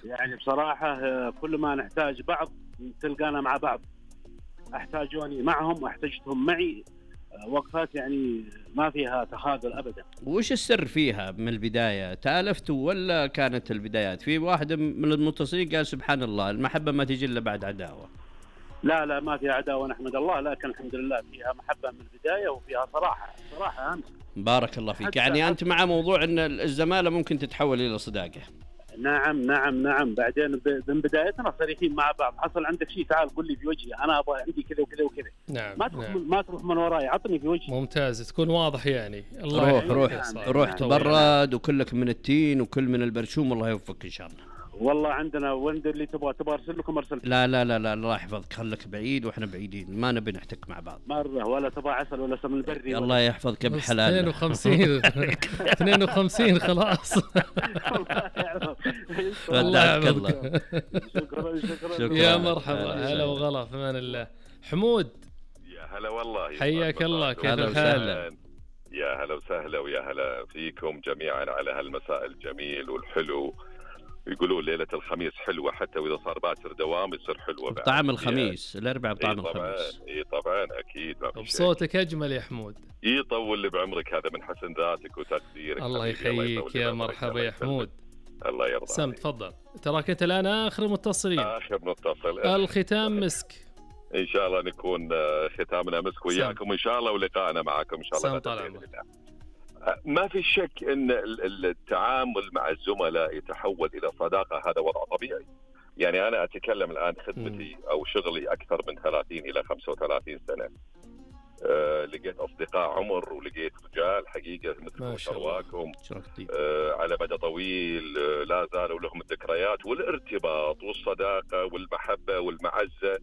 يعني بصراحة كل ما نحتاج بعض تلقانا مع بعض، احتاجوني معهم واحتجتهم معي، وقفات يعني ما فيها تخاذل أبدا. وش السر فيها من البداية؟ تالفتوا ولا كانت البدايات؟ في واحد من المتصلين قال سبحان الله المحبة ما تجي إلا بعد عداوة. لا ما فيها عداوة نحمد الله، لكن الحمد لله فيها محبة من البداية وفيها صراحة أمس. بارك الله فيك. يعني أنت مع موضوع أن الزمالة ممكن تتحول إلى صداقة؟ نعم. بعدين من بدايتنا صريحين مع بعض، حصل عندك شيء تعال قل لي في وجهي، أنا أبغى عندي كذا وكذا وكذا. نعم. ما تروح من وراي، عطني في وجهي. ممتاز، تكون واضح يعني. الله روح تبرد وكلك من التين وكل من البرشوم، الله يوفقك إن شاء الله. والله عندنا وين اللي تبغى ارسل لكم ارسل. لا الله يحفظك، خلك بعيد واحنا بعيدين، ما نبي نحتك مع بعض مره، ولا تبغى عسل ولا سمن بري. الله يحفظك بحلال. 52 خلاص. الله يحفظك. شكرا يا مرحبا، هلا وغلا، في امان الله. حمود يا هلا والله، حياك الله، كيف الحال؟ يا هلا وسهلا ويا هلا فيكم جميعا على هالمساء الجميل والحلو. يقولوا ليلة الخميس حلوة، حتى وإذا صار باكر دوام يصير حلوة بطعم الخميس. الأربعاء بطعم الخميس. إيه طبعا أكيد. بصوتك أجمل يا حمود. يطول لي بعمرك، هذا من حسن ذاتك وتقديرك. الله يحييك، يا مرحبا يا حمود. الله يرضى. سم تفضل، تراك أنت الآن آخر متصلين. آخر متصل. الختام مسك. إن شاء الله نكون ختامنا مسك وياكم إن شاء الله، ولقائنا معكم إن شاء الله. طال عمرك. ما في شك ان التعامل مع الزملاء يتحول الى صداقه، هذا وضع طبيعي. يعني انا اتكلم الان خدمتي او شغلي اكثر من 30 الى 35 سنه. لقيت اصدقاء عمر ولقيت رجال حقيقه مثل شرواكم على مدى طويل لا زالوا لهم الذكريات والارتباط والصداقه والمحبه والمعزه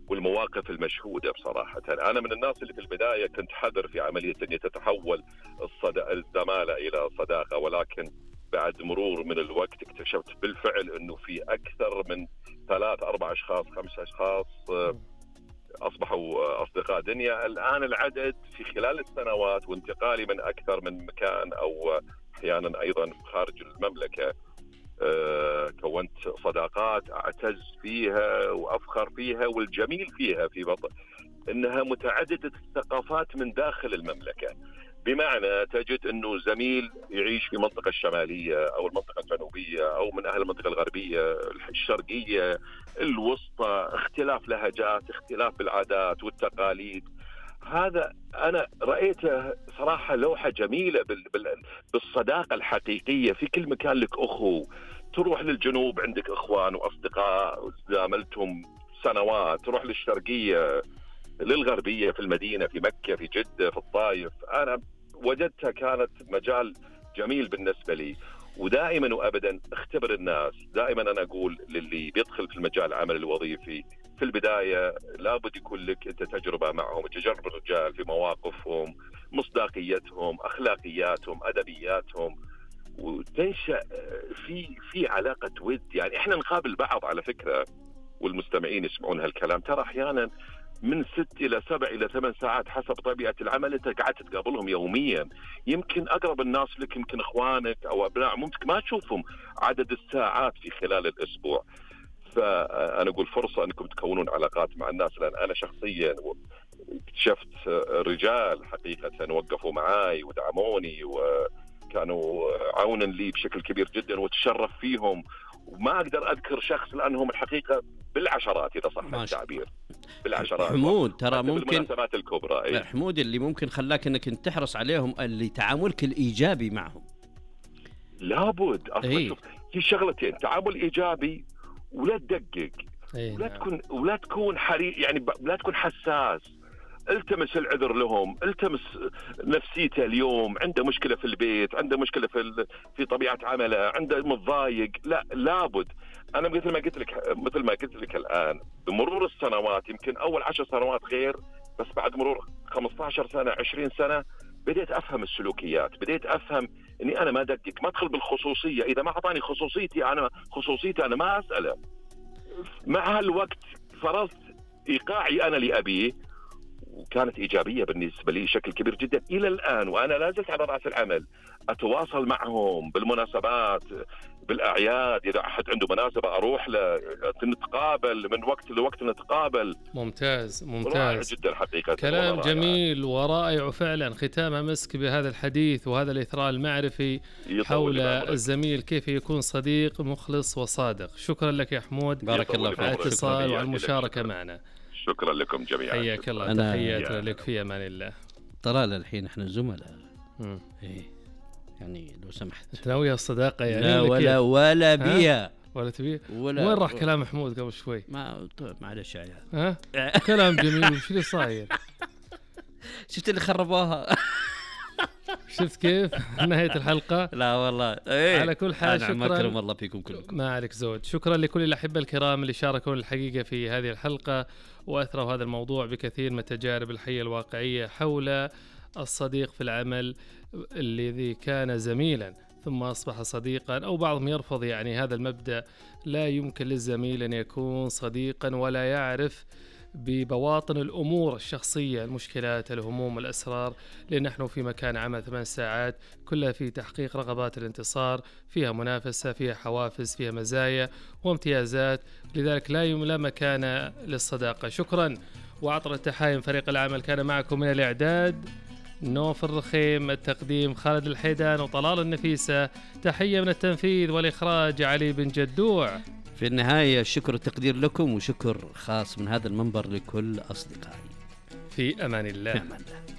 والمواقف المشهودة. بصراحة أنا من الناس اللي في البداية كنت حذر في عملية أن تتحول الزمالة إلى صداقة، ولكن بعد مرور من الوقت اكتشفت بالفعل أنه في أكثر من 3-4 أشخاص 5 أشخاص أصبحوا أصدقاء دنيا. الآن العدد في خلال السنوات وانتقالي من أكثر من مكان أو أحيانا أيضا خارج المملكة، كونت صداقات أعتز فيها وأفخر فيها، والجميل فيها في بطن إنها متعددة الثقافات من داخل المملكة. بمعنى تجد أنه زميل يعيش في المنطقة الشمالية أو المنطقة الجنوبية أو من أهل المنطقة الغربية الشرقية الوسطى، اختلاف لهجات، اختلاف بالعادات والتقاليد. هذا أنا رأيته صراحة لوحة جميلة بالصداقة الحقيقية. في كل مكان لك أخو، تروح للجنوب عندك إخوان وأصدقاء زاملتهم سنوات، تروح للشرقية للغربية في المدينة في مكة في جدة في الطائف. أنا وجدتها كانت مجال جميل بالنسبة لي. ودائما وأبدا اختبر الناس. دائما أنا أقول للي بيدخل في المجال العمل الوظيفي في البداية لابد يكون لك أنت تجربة معهم، تجرب الرجال في مواقفهم، مصداقيتهم، أخلاقياتهم، أدبياتهم، وتنشأ في علاقة ود. يعني إحنا نقابل بعض على فكرة، والمستمعين يسمعون هالكلام، ترى أحيانا من 6 إلى 7 إلى 8 ساعات حسب طبيعة العمل أنت قاعد تقابلهم يوميا. يمكن أقرب الناس لك يمكن إخوانك أو أبناء ممكن ما تشوفهم عدد الساعات في خلال الأسبوع. فأنا أقول فرصة أنكم تكونون علاقات مع الناس، لأن أنا شخصيا اكتشفت رجال حقيقة وقفوا معاي ودعموني وكانوا عونا لي بشكل كبير جدا وتشرف فيهم. وما أقدر أذكر شخص لأنهم الحقيقة بالعشرات إذا صح التعبير، بالعشرات. حمود ترى ممكن بالمناسبات الكبرى. لا حمود اللي ممكن خلاك أنك تحرص عليهم اللي تعاملك الإيجابي معهم. لابد أصلا شوف في شغلتين، تعامل إيجابي ولا تدقق، ولا تكون حريص، يعني لا تكون حساس. التمس العذر لهم، التمس نفسيته اليوم عنده مشكلة في البيت، عنده مشكلة في طبيعة عمله، عنده متضايق. لا لابد. أنا مثل ما قلت لك الآن، بمرور السنوات يمكن أول 10 سنوات غير، بس بعد مرور 15 سنة 20 سنة بديت أفهم السلوكيات، بديت أفهم إني أنا ما أدقق، ما أدخل بالخصوصية. إذا ما أعطاني خصوصيتي أنا ما أسأله. مع هالوقت فرضت إيقاعي أنا لأبيه، وكانت إيجابية بالنسبة لي بشكل كبير جدا إلى الآن. وأنا لا زلت على رأس العمل أتواصل معهم بالمناسبات، بالاعياد اذا احد عنده مناسبه اروح له، نتقابل من وقت لوقت نتقابل. ممتاز رائع ممتاز، جدا حقيقه، كلام جميل ورائع وفعلا ختامها مسك بهذا الحديث وهذا الإثراء المعرفي حول الزميل كيف يكون صديق مخلص وصادق. شكرا لك يا حمود، بارك الله على الاتصال وعلى المشاركة معنا. شكرا لكم جميعا، حياك الله، تحياتنا لك، في امان الله. طلال الحين احنا زملاء، ايه يعني لو سمحت تناوي الصداقه يعني؟ لا ولا بيها ولا تبي وين راح كلام محمود قبل شوي؟ معلش يا عيال، ها كلام جميل، وش اللي صاير؟ شفت اللي خربوها؟ شفت كيف نهاية الحلقة؟ لا والله على كل حال شكرا، أكرم الله فيكم كلكم، ما عليك زود. شكرا لكل الأحبة الكرام اللي شاركوا الحقيقة في هذه الحلقة وأثروا هذا الموضوع بكثير من التجارب الحية الواقعية حول الصديق في العمل الذي كان زميلا ثم أصبح صديقا، أو بعضهم يرفض يعني هذا المبدأ، لا يمكن للزميل أن يكون صديقا ولا يعرف ببواطن الأمور الشخصية، المشكلات، الهموم، الأسرار، لأن نحن في مكان عمل 8 ساعات كلها في تحقيق رغبات الانتصار، فيها منافسة، فيها حوافز، فيها مزايا وامتيازات، لذلك لا مكان للصداقة. شكرا وعطر التحايم فريق العمل كان معكم من الإعداد نوف الرخيم، التقديم خالد الحيدان وطلال النفيسة، تحية من التنفيذ والإخراج علي بن جدوع. في النهاية الشكر والتقدير لكم، وشكر خاص من هذا المنبر لكل أصدقائي. في أمان الله. في أمان الله.